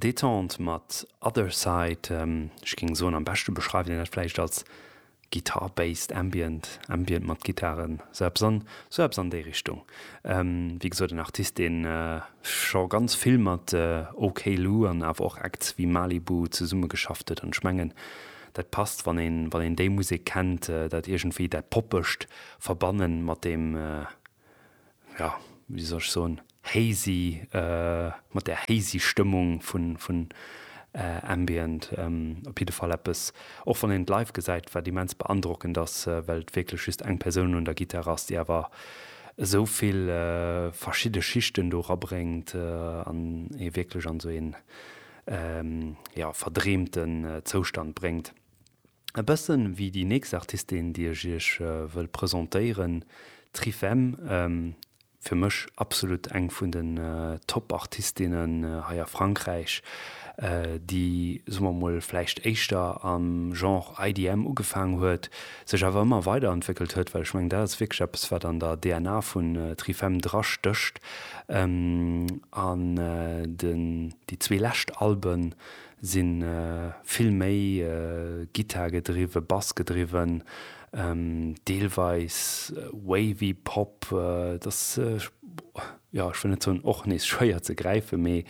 Détente mat Other Side. Ech géing soen, am beschte beschreift een dat vläicht als Guitar-based Ambient, Ambient mat Gittaren, sou eppes an, sou eppes an déi Richtung. Wéi gesot, en Artist, dee scho ganz vill mat OK Lou an awer och Acts wéi Malibu zesummegeschafft huet. An ech mengen, dat passt, wann een, wann een déi Musek kennt, dat iergendwéi dat Poppegt verbannen mat deem, jo, wéi soll ech soen, hazy, mat där hazy Stëmmung vun, vun Ambient. Op jidde Fall eppes, och wann een et live gesäit, wat immens beandrockend ass, well et wierklech just eng Persoun un der Gittar ass, déi awer esou vill verschidde Schichten do erabréngt an ee wierklech an esou een, jo, verdreemten Zoustand bréngt. E bëssen wéi déi nächst Artistin, déi ech iech wëll presentéieren, Trifem. Fir mech absolut eng vun den Top-Artistinnen hei a Frankräich, déi, soe mer mol, vläicht éischter am Genre IDM ugefaang huet, sech awer ëmmer weiderentwéckelt huet, well ech mengen, dat ass wierklech eppes, wat an der DNA vun Trifem drastécht. An den, déi zwee lescht Alben Si vill méi Gittar gedriwwe, Bass gedriwwen, deelweis wavy Pop. Et ass, jo, ech wëll net soen och nees schwéier ze gräifen, mee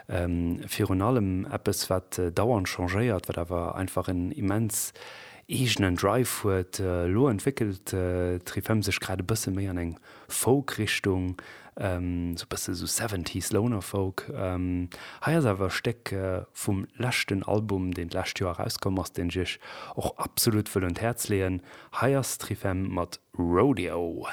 virun allem eppes, wat dauernd changéiert, wat awer einfach en immens eegenen Drive huet. Elo entwéckelt d'Trifem sech grad e bësse méi an eng Folk-Richtung, sou bësse sou Seventies Loner Folk. Hei ass awer e Stéck vum leschten Album, deen d'lescht Joer erauskomm ass, deen ech iech och absolut wëll un d'Häerz leeën. Hei ass Trifem mat Rodeo.